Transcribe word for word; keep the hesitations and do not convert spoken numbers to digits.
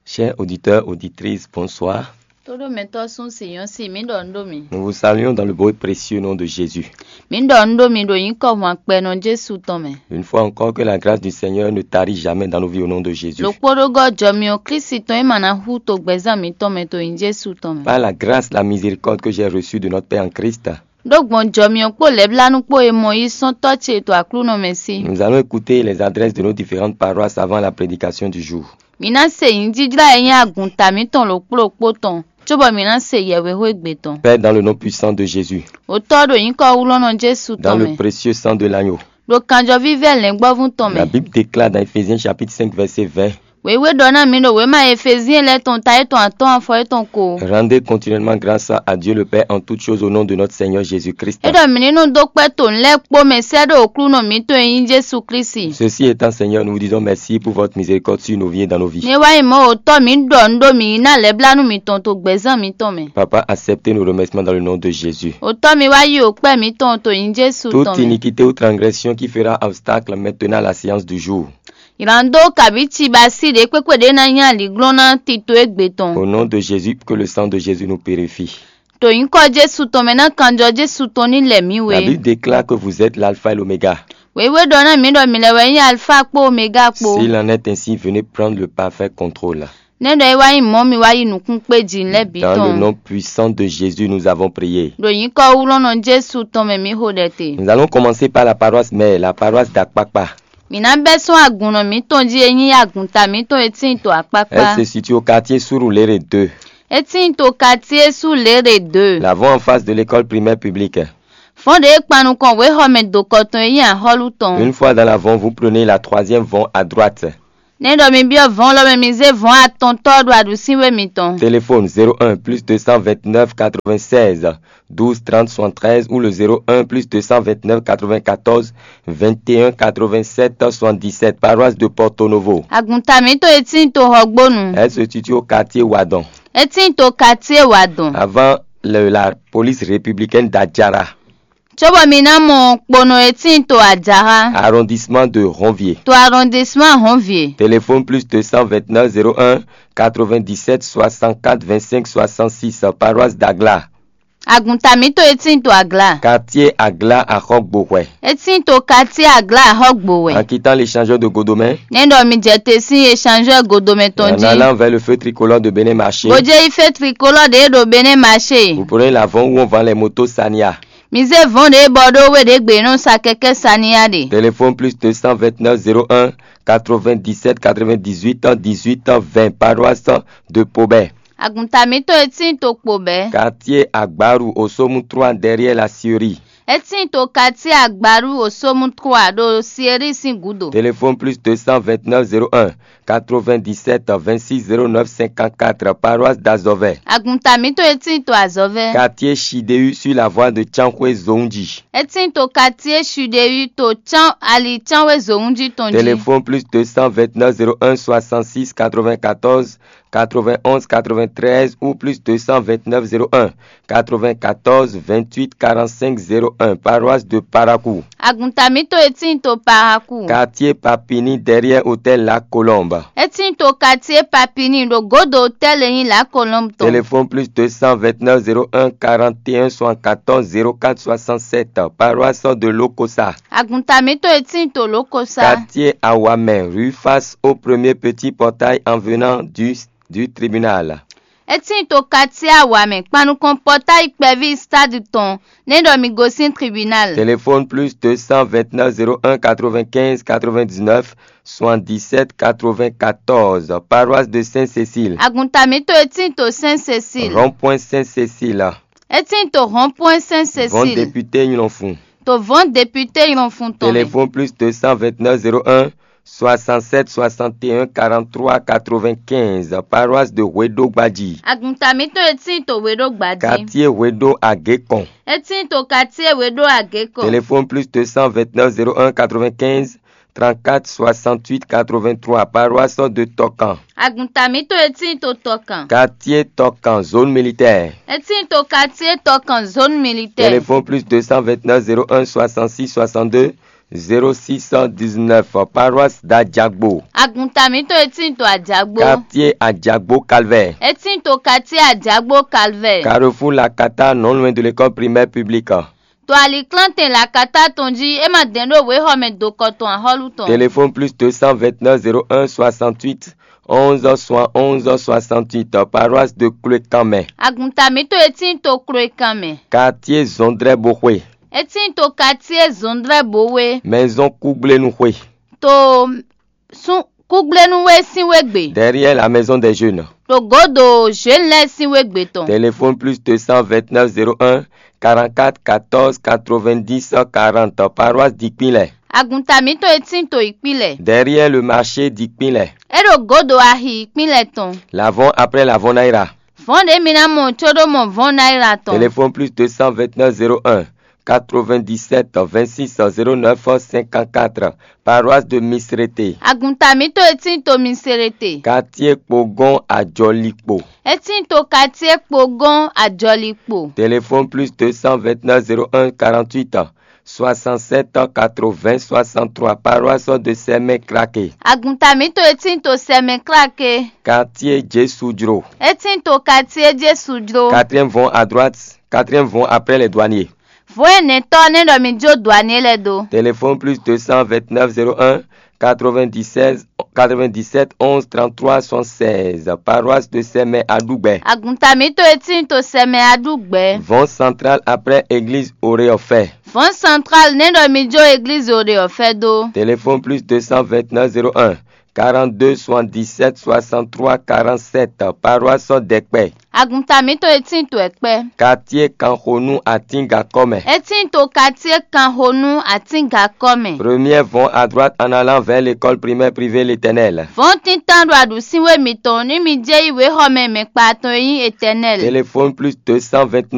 Chers auditeurs, auditrices, bonsoir. Tóɖó mɛtɔ́ sún sǐnyɔ́ si mǐ ɖɔ nǔ ɖo mi. Nous vous saluons dans le beau et précieux nom de Jésus. Mǐ ɖɔ nǔ ɖo mi ɖo nyǐkɔ hwankpɛnɔ Jesu tɔn mɛ. Une fois encore, que la grâce du Seigneur ne tarit jamais dans nos vies au nom de Jésus. Ɖokpóɖógɔ́ jɔ mi ɔ́ Klísu tɔn e ma ná hú to gbɛzán mǐtɔn mɛ to nyí Jesu tɔn mɛ. Par la grâce, la miséricorde que j'ai reçue de notre Père en Christ. Ɖó gbɔn jɔ mi ɔ́ kpó lɛ̌blánú kpó e mɔ yí sɔ́n Tɔ́ ce to Aklúnɔ mɛ sí. Nous allons écouter les adresses de nos différentes paroisses avant la prédication du jour. Mǐ ná se nyǐjijlá e nyí agunta mǐtɔn ɖokpó ɖokpó tɔn, cóbɔ mǐ ná se yɛhwexó égbé tɔn. Père, dans le nom puissant de Jésus, Otɔ́ ɖo nyǐkɔ wlɔ́nɔ Jesu dans tɔn le mɛ, précieux sang de l'agneau, ɖo kanjɔ vívɛ́ lɛ̌ngbɔ́vú tɔn la mɛ. Bible déclare dans Éphésiens chapitre cinq, verset vingt, Wěwé ɖɔ ná mǐ ɖo wěma Efezyɛn lɛ́ɛ tɔn ta étɔn atɔ́ɔ́n afɔ étɔn ko. Rendez continuellement grâce à Dieu le Père en toutes choses au nom de notre Seigneur Jésus-Christ. É ɖɔ mǐ ní nɔ dó kpɛ́ to nǔ lɛ́ɛ kpó mɛ sɛ́ ɖó Aklúnɔ mǐtɔn e nyí Jesu Klísu. Ceci étant, Seigneur, nous vous disons merci pour votre miséricorde sur nos vies et dans nos vies. Né wá nyí mɔ̌ Otɔ́ mǐ ɖɔ nǔ ɖó mǐ yi ná lɛ̌blánú mǐtɔn to gbɛ̌zán mǐtɔn mɛ. Papa, acceptez nos remerciements dans le nom de Jésus. Otɔ́ mi wá yí òkpɛ́ mǐtɔn to nyí Jesu Toute tɔn mɛ. Iniquité ou transgression qui fera obstacle maintenant à la séance du jour. Ylǎndó kabǐ cibaasí ɖě kpékpé ɖě ná nyí aliglɔ́n ná tito égbé tɔn. Au nom de Jésus, que le sang de Jésus nous purifie. Ɖo nyǐkɔ Jesu tɔn mɛ ná kanjɔ Jesu tɔn ní lɛ mǐ La wé. Bible déclare que vous êtes l'alpha et l'oméga. Wěwé ɖɔ ná mǐ ɖɔ mǐ lɛ́ wɛ nyí Alfa kpó Omega kpó. S'il en est ainsi, venez prendre le parfait contrôle. Nɛ́ ɖɔ é wá nyí mɔ̌ mi wá yi nǔkún kpé jǐ lɛ́ɛ bǐ Dans le tɔn. Nom puissant de Jésus, nous avons prié. Ɖo nyǐkɔ wlɔ́nɔ Jesu tɔn mɛ mǐ xo ɖɛ te. Nous allons commencer par la paroisse mère, la paroisse d'Akpakpa. Mǐ ná bɛ́ sɔ́ agun nɔ mǐtɔn jí e nyí agunta mǐtɔn e tíin to akpákpá. Elle se situe au quartier Surulere deux. É tíin to quartier Surulere deux. L'avant en face de l'école primaire publique. Fɔ́n ɖě e kpan nukɔn wěxɔmɛ dokɔ tɔn e nyí axɔ́lú tɔn. Une fois dans l'avant, vous prenez la troisième vente à droite. Nɛ́ ɖɔ mi byɔ́ vɔ̌n lɔ mɛ mi zé vɔ̌n atɔntɔ́ ɖo aɖǔsínwé mitɔn. Téléphone zéro un plus deux cent vingt-neuf quatre-vingt-seize douze trente soixante-treize ou le zéro un plus deux cent vingt-neuf quatre-vingt-quatorze vingt-et-un quatre-vingt-sept soixante-dix-sept, paroisse de Porto Novo. Agunta mǐtɔn e tíin to Xɔgbónu. Elle se situe au quartier Wadon. É tíin to quartier Wadon. Avant le- la police républicaine d'Adjara. Cóbɔ mi ná mɔ kponɔ e tíin to Adjara. Arrondissement de Ronvier. To arrondissement Ronvier. Téléphone plus deux cent vingt-neuf zéro un quatre-vingt-dix-sept soixante-quatre vingt-cinq soixante-six, paroisse d'Agla. Agunta mǐtɔn e tíin to Agla. Quartier Agla Axɔgbohwɛ. É tíin to quartier Agla Axɔgbohwɛ. En quittant l'échangeur de Godomé. Nɛ́ ɖɔ mi jɛ te sín échangeur Godomé tɔn jí. En allant vers le feu tricolore de Bénin Marché. Bó jẹ́ ifé tricolore ɖě ɖo Bénin Marché. Vous prenez l'avant où on vend les motos Sania. Mi zé vɔ̌n ɖě bɔ ɖó we ɖě gbe nɔ sa kɛkɛ́ Sania ɖe. Téléphone plus deux cent vingt-neuf zéro un quatre-vingt-dix-sept quatre-vingt-dix-huit dix-huit vingt, paroisse de Pobé. Agunta mǐtɔn e tíin to kpo bɛ́. Quartier Agbaru au Somu trois derrière la scierie. É tíin to quartier Agbaru au Somu trois ɖo scierie sín gǔdo. Téléphone plus deux cent vingt-neuf zéro un quatre-vingt-dix-sept vingt-six zéro neuf cinquante-quatre, paroisse d'Azɔvɛ. Agunta mǐtɔn e tíin to Azɔvɛ. Quartier Chideyu sur la voie de Tsanxwé Zonji. É tíin to quartier Chideyu to Tsan ali Tsanxwé Zonji tɔn jí. Téléphone plus deux cent vingt-neuf zéro un soixante-six quatre-vingt-quatorze quatre-vingt-onze quatre-vingt-treize ou plus deux cent vingt-neuf zéro un quatre-vingt-quatorze vingt-huit quarante-cinq zéro un, paroisse de Parakou. Agunta mǐtɔn e tíin to Parakou. Quartier Papini derrière hôtel La Colombe. É tíin to quartier Papini ɖo gǒdo hôtel e nyí La Colombe tɔn. Téléphone plus deux cent vingt-neuf zéro un quarante-et-un soixante-quatorze zéro quatre soixante-sept, paroisse de Lokosa. Agunta mǐtɔn e tíin to Lokosa. Quartier Awamɛ, rue face au premier petit portail en venant du, du tribunal. É tíin to quartier Awamɛ kpan nukɔn pɔtáyi kpɛví stade tɔn, nɛ́ ɖɔ mi gosín tribunal. Téléphone plus deux cent vingt-neuf zéro un quatre-vingt-quinze quatre-vingt-dix-neuf soixante-dix-sept quatre-vingt-quatorze, paroisse de Sainte-Cécile. Agunta mǐtɔn e tíin to Sainte-Cécile. Rond-point Sainte-Cécile. É tíin to rond-point Sainte-Cécile. Vɔn député Nylɔnfun. To vɔn député Nylɔnfun tɔn mɛ. Téléphone plus deux cent vingt-neuf zéro un soixante-sept soixante et un quarante-trois quatre-vingt-quinze, paroisse de Hwedo Gbadji. Agunta mǐtɔn e tíin to Hwedo Gbadji. Quartier Hwedo Agékɔn. É tíin to quartier Hwedo Agékɔn. Téléphone plus deux cent vingt-neuf zéro un quatre-vingt-quinze trente-quatre soixante-huit quatre-vingt-trois, paroisse de Tɔkan. Agunta mǐtɔn e tíin to Tɔkan. Quartier Tɔkan, zone militaire. É tíin to quartier Tɔkan, zone militaire. Téléphone plus deux cent vingt-neuf zéro un soixante-six soixante-deux zéro six cent dix-neuf, paroisse d'Adjagbo. Agunta mǐtɔn e tíin to Adjagbo. Quartier Adjagbo Calvaire. E tíin to quartier Adjagbo Calvaire. Carrefour Lakata, non loin de l'école primaire publique. To aliklántɛn Lakata tɔn jí, é ma dɛn ɖó wěxɔ mɛ dokɔ tɔn axɔ́lú tɔn. Téléphone plus deux cent vingt-neuf zéro un soixante-huit onze soixante-onze soixante-huit, paroisse de Kloekanmɛ. Agunta mǐtɔn e tíin to Kloekanmɛ. Quartier Zɔndrɛboxwe. E tíin to quartier Zɔndrɛbowe. Maison Kúgblénuxwe. To sún Kúgblénuwe sín wégbe. Derrière la maison des jeunes. Ɖo gǒdo Zhenu lɛ́ɛ sín wégbe tɔn. Téléphone plus deux cent vingt-neuf zéro un quarante-quatre quatorze quatre-vingt-dix quarante, paroisse Dikpinlɛ. Agunta mǐtɔn e tíin to Ikpilɛ. Derrière le marché Dikpinlɛ. É ɖo gǒdo axi Ikpilɛ tɔn. L'avant après l'avant Naira. Vɔ̌n ɖě mi ná mɔ có ɖó mɔ vɔ̌n náírà tɔn. Téléphone plus deux cent vingt-neuf zéro un quatre-vingt-dix-sept vingt-six zéro neuf cinquante-quatre, paroisse de Misrete. Agunta mǐtɔn e tíin to Misrete. Quartier Kpogɔn Ajɔlikpo. E tíin to quartier Kpogɔn Ajɔlikpo. Téléphone plus deux cent vingt-neuf zéro un quarante-huit soixante-sept quatre-vingts soixante-trois, paroisse de Sɛmɛ Krake. Agunta mǐtɔn e tíin to Sɛmɛ Krake. Quartier Jésu Jro. E tíin to quartier Jésu jló. Quatrième vɔn à droite, quatrième vɔn après les douaniers. Vɔ̌ ɛnɛtɔ́ nɛ́ ɖɔ mi jó dɔ̌ ane lɛ́ɛ dó. Téléphone plus deux cent vingt-neuf zéro un quatre-vingt-dix-seize quatre-vingt-dix-sept onze trente-trois soixante-seize, paroisse de Sɛmɛ Aɖugbɛ. Agunta mǐtɔn e tíin to Sɛmɛ Aɖugbɛ. Vɔn central après église Oreofɛ. Vɔ̌n central nɛ́ ɖɔ mi jó église Oreofɛ dó. Téléphone plus deux cent vingt-neuf zéro un quarante-deux soixante-dix-sept soixante-trois quarante-sept, paroisse Dɛkpɛ. Agunta mǐtɔn e tíin to Ɛkpɛ. Quartier Kanxonu Atíngakɔ́mɛ. E tíin to quartier Kanxonu Atíngakɔ́mɛ. Première vɔn à droite en allant vers l'école primaire privée L'Éternel. Vɔ̌n tíntan ɖo aɖǔsínwé mitɔn ní mi jɛ yi wěxɔ mɛ mɛ kpa tɔn e nyí Éternel. Téléphone plus deux cent vingt